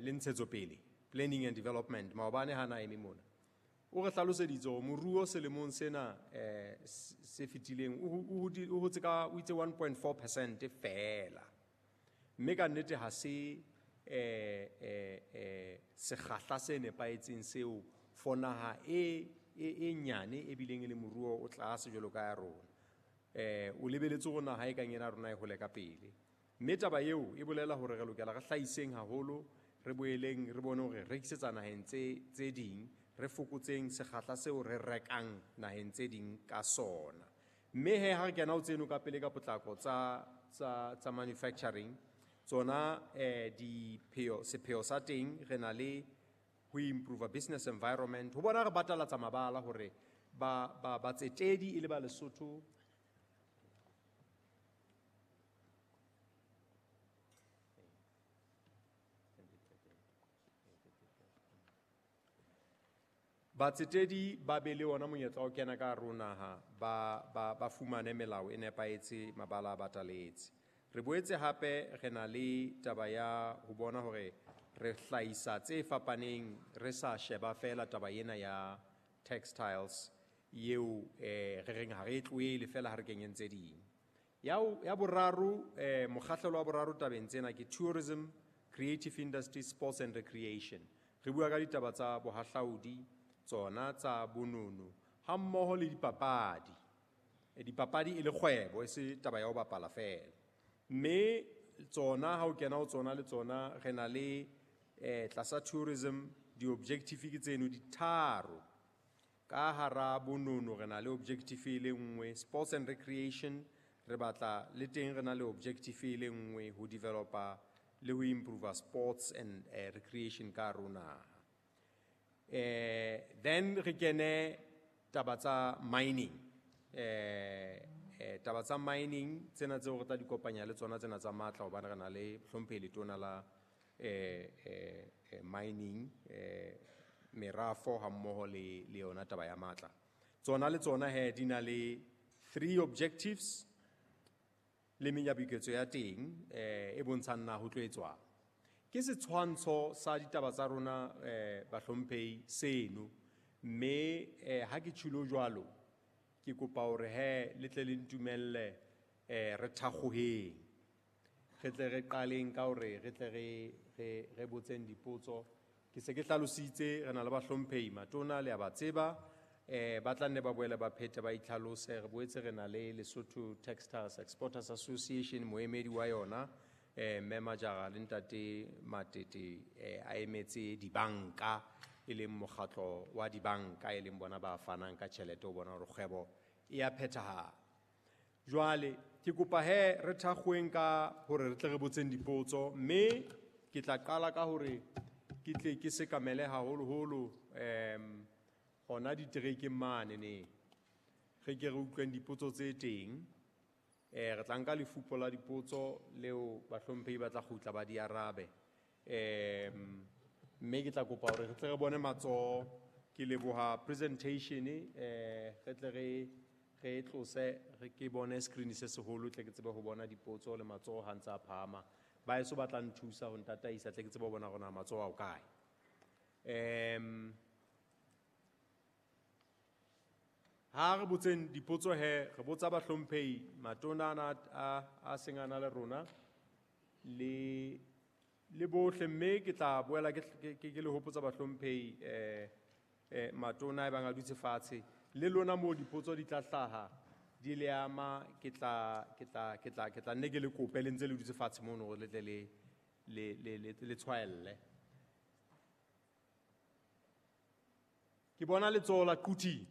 le ntshetsopele, planning and development, maobane ha na eme mona, o re hlaloseditse hore moruo selemong sena se fetileng o hotse ka, o itse 1.4% feela. Mme ka nnete ha se sekgahla se nepahetseng seo for naha e nyane e bileng e le moruo o tlase jwalo ka ya rona. O lebeletse hore naha e kang ena rona e hole ka pele. Mme taba eo e bolela hore re lokela re hlahiseng haholo, re boeleng re bone hore re rekisetsa naheng tse ding, re fokotseng sekgahla seo re rekang naheng tse ding ka sona. Mme he ha re kena ho tseno ka pele ka potlako tsa manufacturing, tsona sepheo sa teng re na le ho improve business environment, ho bona re batalatsa mabala hore batsetedi e le ba Lesotho. Batsetedi ba be le ona monyetla wa ho kena ka hare ho naha, ba fumane melao e nepahetse, mabala a bataletse. Re boetse hape re na le taba ya ho bona hore re hlahisa tse fapaneng, re sa sheba feela taba ena ya textiles eo re reng ha re e tlohele feela ha re kenyeng tse ding. Ya boraro, mokgahlelo wa boraro tabeng tsena ke tourism, creative industry, sports and recreation. Re bua ka ditaba tsa bohahlaudi, tsona tsa bonono, ha mmoho le dipapadi. Dipapadi e le kgwebo, e se taba ya ho bapala feela. Mme tsona ha o kena ho tsona le tsona re na le tlasa tourism di-objective ke tseno di tharo. Ka hara bonono re na le objective e le nngwe, sports and recreation re batla le teng re na le objective e le nngwe ho developa le ho improve sports and recreation ka hare ho naha. Then re kene taba tsa mining. Taba tsa mining tsena tseo re tla di kopanya le tsona tsena tsa matla, hobane re na le hlomphehi letona la mining, merafo ha mmoho le yona taba ya matla. Tsona le tsona he di na le 3 objectives le menyabuketso ya teng e bontshang na ho tlo etswang. Ke setshwantsho sa ditaba tsa rona bahlomphehi seno, mme ha ke tjhilo jwalo ke kopa hore he le tle le ntumelle re thakgoheng, re tle re qaleng ka hore re tle re botseng dipotso. Ke se ke hlalositse re na le bahlomphehi matona le a ba tseba, ba tla nne ba boele ba phete ba itlhalose. Re boetse re na le Lesotho Textiles Exporters Association, moemedi wa yona mme Majara le ntate Matete a emetse dibanka, e leng mokgatlo wa dibanka, e leng bona ba fanang ka tjhelete ho bona hore kgwebo e a phethahala. Jwale ke kopa he re thakgoeng ka hore re tle re botseng dipotso, mme ke tla qala ka hore ke tle ke sekamele haholoholo hona diterekeng mane ne. Re ke re utlweng dipotso tse teng. Re tla nka lefupo la dipotso leo bahlomphehi ba tla kgutla ba di arabe. Mme ke tla kopa hore re tle re bone matsoho. Ke leboha presentation, re tle re tlose, re ke bone screen se seholo, tle ke tsebe ho bona dipotso le matsoho ha ntse a phahama. Ba eso ba tla nthusa ho ntataisa, tle ke tsebe ho bona hore na matsoho a o kae. Ha re botseng dipotso he, re botsa bahlomphehi matona ana a seng a na le rona le bohle, mme ke tla boela ke le hopotsa bahlomphehi matona e bang a dutse fatshe le lona moo dipotso di tla hlaha di le ama, ke tla nne ke le kope le ntse le dutse fatshe mono hore le tle le tshwaelle. Ke bona letsoho la Quthing.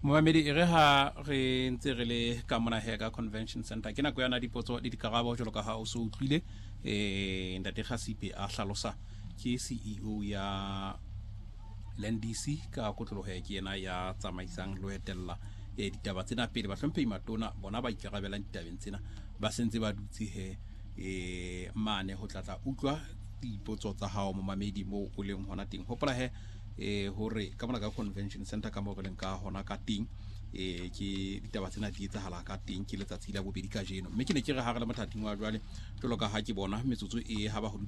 Momamedi, e re ha re ntse re le ka mona he ka Convention Center, ke nako ya na dipotso le dikarabo jwalo ka ha o so utlwile, Ntate Kgasipe a hlalosa ke CEO ya LNDC ka kotloloho ya ke yena ya tsamaisang le ho etella ditaba tsena pele. Bahlomphehi matona bona ba ikarabelang ditabeng tsena ba sentse ba dutse he mane ho tlatla utlwa dipotso tsa hao momamedi moo o leng hona teng. Hopola he hore ka mona ka Convention Center ka moo re leng ka hona ka teng, ke ditaba tsena di etsahala ka teng, ke letsatsi la bobedi kajeno. Mme ke ne ke re ha re le mothating wa jwale, jwalo ka ha ke bona metsotso e ha ba ho